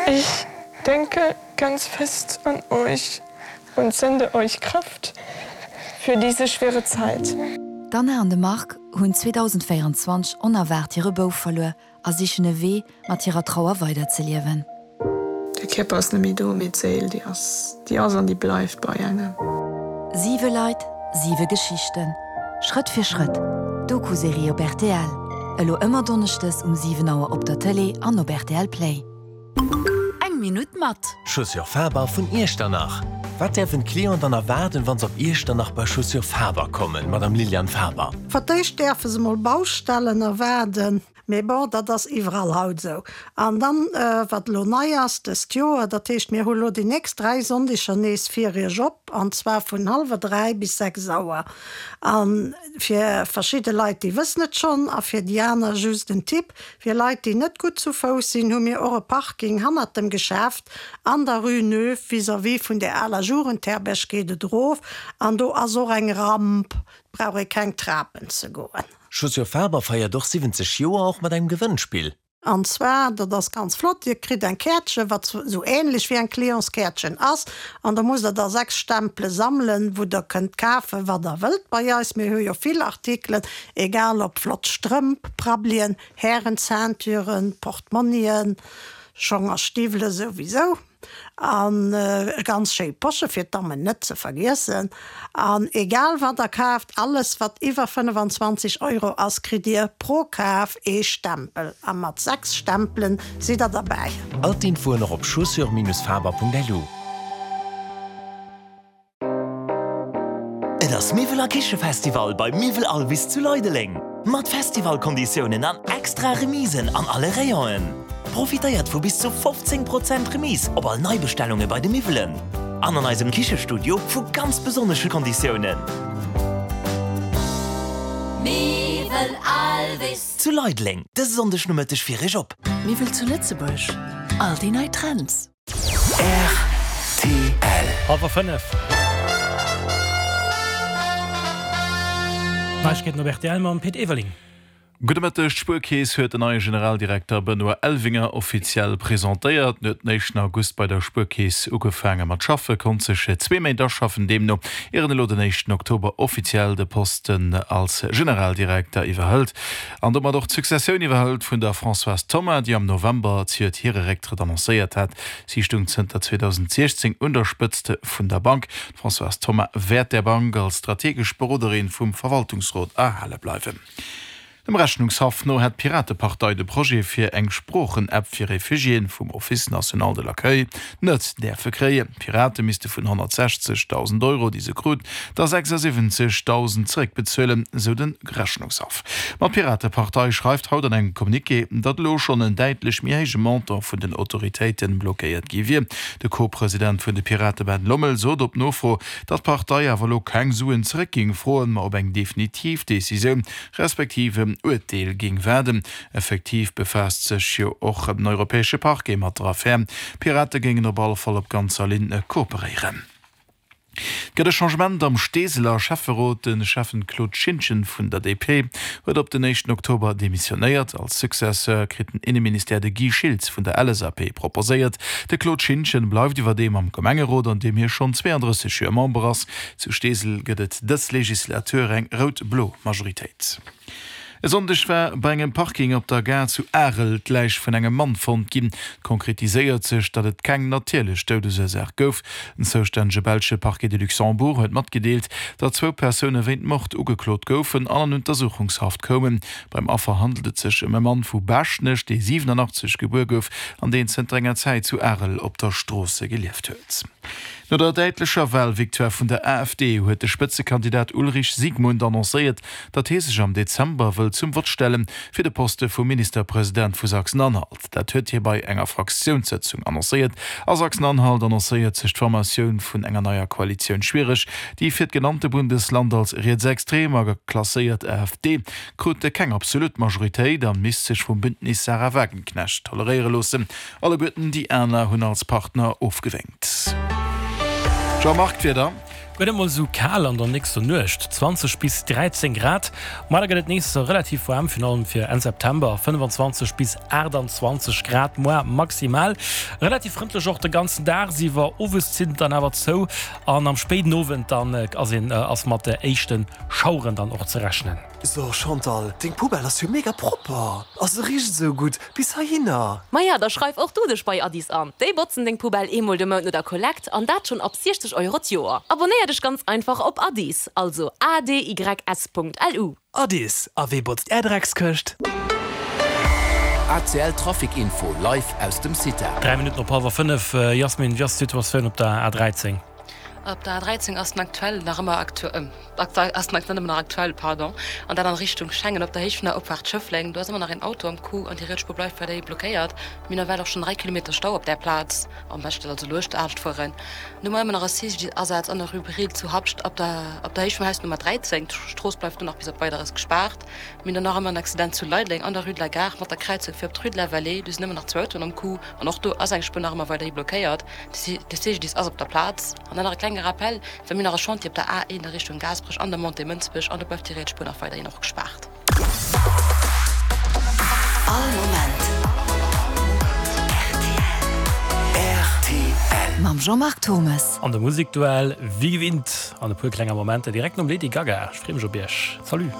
Ich denke ganz fest an euch und sende euch Kraft für diese schwere Zeit. D'Anna an de Marc hunn 2024 onerwaart hire Bouf verluer a sichen e Wee, mat hirer Trauer weiderzeliewen. De Kierper ass net méi do, mee d'Séil, déi ass, déi ass an déi bleift bei engem. Siwe Leit, siwe Geschichten. Schrëtt fir Schrëtt, Doku-Serie op rtl. Elo ëmmer donneschdes um 7 Auer op der Tëlee an op rtl Play. Eng Minutt mat. Chaussures Faber vun Iechternach. Wat däerfen d'Clienten dann erwaarden, wa se op Iechternach bei Chaussures Faber kommen, Madame Liliane Faber? Fir d'éischt däerfe se mol Baustellen erwaarden. Mee bon, dat ass iwwerall haut esou. An dann, wat elo nei ass dëst Joer, dat heescht, mir hu elo déi nächst 3 Sonndeger nees fir Iech op, an zwar vun hallwer 3 bis 6 Auer. A fir verschidde Leit, déi wëssen et schonn, a fir déi aner just en Tipp, Fir Leit, déi net gutt zu Fouss sinn, hu mir och e Parking hannert dem Geschäft an der Rue Neuve, vis-à-vis vun der aler Jugendherberg geet et erof, an do ass och eng Ramp, et brauch ee keng Trapen ze goen. Chaussures Faber feiert och 70 Joer, och mat engem Gewënnspill. An zwar, dat ass ganz flott, Dir kritt eng Käertchen, wat esou ähnlech wéi eng Clientskäertchen ass, an da musst Der da 6 Stempele sammelen, wou Der kënnt kafen, wat Der wëllt bei eis. Mir hu jo vill Artikelen, egal ob flott Strëmp, Prabbelien, Härenceintüren, Portmonnien, Schong a Stiwwele souwisou. An e ganz schéi Posche fir d'Dammen net ze vergiessen. An egal wat der kaaft, alles wat iwwer 25 Euro ass, kritt dir pro Kaf ee Stempel. A mat 6 Stempelen sidd der derbäi. All d'Infoen och op chaussures-faber.lu. Et ass Miwwel a Kichefestival bei Miwwel Alvis zu Leideleng! Mat Festivalkonditiounen an extra Remisen an alle Rayonen. Profitéiert vu bis zu 15 Prozent Remise op all Neibestellunge bei de Miwwelen an an eisem Kichestudio vu ganz besonnesche Konditiounen. Miwwel Alvis. Zu Leideleng, dëse Sonndeg Nomëtteg fir Iech op. Miwwel zu Lëtzebuerg, all déi nei Trends. Rtl. Hallwer 5. Neiegkeeten op rtl mam Pit Everling. Gudde Mëtteg. D'Spuerkeess huet den neie Generaldirekter Benoît Elvinger offiziell presentéiert. En huet den éischten August bei der Spuerkeess ugefaange mat schaffen, konnt sech zwee Méint aschaffen deemno, ier en elo den éischten Oktober offiziell de Posten als Generaldirekter iwwerhëlt. An domat och d'Successioun iwwerhëlt vun der Françoise Thoma, déi am November zejoert hire Récktrëtt annoncéiert hat. Si stung zënter 2016 un der Spëtzt vun der Bank. D'Françoise Thoma wäert der Bank als strategesch Beroderin vum Verwaltungsrot erhale bleiwen. Dem Rechnungshaff no hätt d'Piratepartei de Projet fir eng Sproochen-App fir Refugiéen vum Office national de l'accueil net däerfe kréien. D'Pirate misste vun 160.000 Euro, déi se krut, der 76.000 zeréckbezuelen, sou de Rechnungshaff. Ma d'Piratepartei schreift haut an engem Communiqué, datt elo schonn en däitlech méi héije Montant vun den Autoritéite blockéiert gi wier. De Co-President vun de Pirate Ben Lommel sot op Nofro, datt d'Partei awer elo keng Suen zeréck géing froen, ma op eng definitiv Decisioun respektiv en Urteel géing waarden. Effektiv befaasst sech jo och den europäesche Parquet mat der Affär. D'Pirate géingen op alle Fall op ganzer Linn kooperéieren. Et gëtt e Changement am Steeseler Schäfferot. De Schäffen Claude Schintgen vun der DP huet op den éischten Oktober demissionéiert. Als Successeur kritt den Inneministère de Guy Schiltz vun der LSAP proposéiert. De Claude Schintgen bleift iwwerdeem am Gemengerot, an deem hie schonn 32 Joer Member ass. Zu Steesel gëtt et dës Legislatur eng rout-blo Majoritéit. E Sonndeg war bei engem Parking op der Gare zu Arel d'Läich vun engem Mann fonnt ginn. Et konkretiséiert sech, datt et keng natierlech Doudesursaach gouf. Den zoustännege belsche Parquet de Luxembourg huet matgedeelt, datt zwou Persoune wéint Mord ugeklot goufen an an Untersuchungshaft koumen. Beim Affer handelt et sech ëm e Mann vu Baaschtnech, dee 87 gebuer gouf an deen zënter enger Zäit zu Arel op der Stroosse gelieft huet. No der däitlecher Walvictoire vun der AfD huet de Spëtzekandidat Ulrich Siegmund annoncéiert, datt hie sech am Dezember wëll zum Vott stelle fir de Poste vum Ministerpresident vu Sachsen-Anhalt. Dat huet hie bei enger Fraktiounssëtzung annoncéiert. A Sachsen-Anhalt annoncéiert sech d'Formatioun vun enger neier Koalitioun schwiereg. Déi fir d'genannte Bundesland als rietsextrem a klasséiert AfD krut keng absolut Majoritéit a misst sech vum Bündnis Sarah Wagenknecht toleréiere loossen. Alleguerten déi aner hunn als Partner ofgewénkt. Jean-Marc, D'Wieder. Guer net mol esou kal an der nächster Nuecht, 20 bis 13 Grad. Ma da gëtt et nees relativ waarm, virun allem fir Enn September, 25 bis 28 Grad moar maximal. Relativ frëndlech och de ganzen Dag iwwer. Owes zitt et dann awer zou an am spéiden Owend dann ass een ass mat éischte Schaueren dann och ze rechnen. So Chantal, deng Poubelle ass jo mega propper a se richt esou gutt bis heihinner. Maja, da schreif och du dech bei Addis an. Déi botzen deng Poubelle eemol de Mount no der Kollekt an dat schonn ab 60 Euro d'Joer. Abonéier dech ganz einfach op Addis, also adys.lu. Addis, a wee botzt är Dreckskëscht? ACL Trafic Info live aus dem CITA. 3 Minutten op hallwer 5, Jasmin, wéi ass d'Situatioun op der A13? Op der A13 ass den aktuell nach ëmmer ass den aktuell ëmmer nach aktuell, pardon, an dat an Richtung Schengen op der Héicht vun der Opfaart Schëffleng. Do ass ëmmer nach een Auto am Coup an déi riets Spuer bleift weiderhi blockéiert. Mir hunn nawell och schonn 3 Kilometer Stau op där Plaz. Am beschten also luecht anescht fueren. Dann hu mer ëmmer nach e CGDIS-Asaz an der Rue Brill zu Habscht op der op der Héicht vum Haus Nummer 13. D'Strooss bleift do nach bis op Weideres gespaart. Mir hunn dann nach ëmmer en Accident zu Leideleng an der Rue de la Gare mat der Kräizung fir op d'Rue de la Vallée. Do sinn ëmmer nach zwou Autoen am Coup an och do ass eng Spuer nach ëmmer weiderhi blockéiert. De CGDIS ass op der Plaz. An dann nach e klenge Rappel, well mir hunn nach e Chantier op der A1 a Richtung Gaasperech an der Montée Mënsbech an do bleift déi riets Spuer nach weiderhin och gespaart. All Moment rtl. Mam Jean-Marc Thommes. An de Musekduell wéi gewinnt an e puer klenger Momenter direkt nom Lady Gaga. Ech free mech op iech. Salut.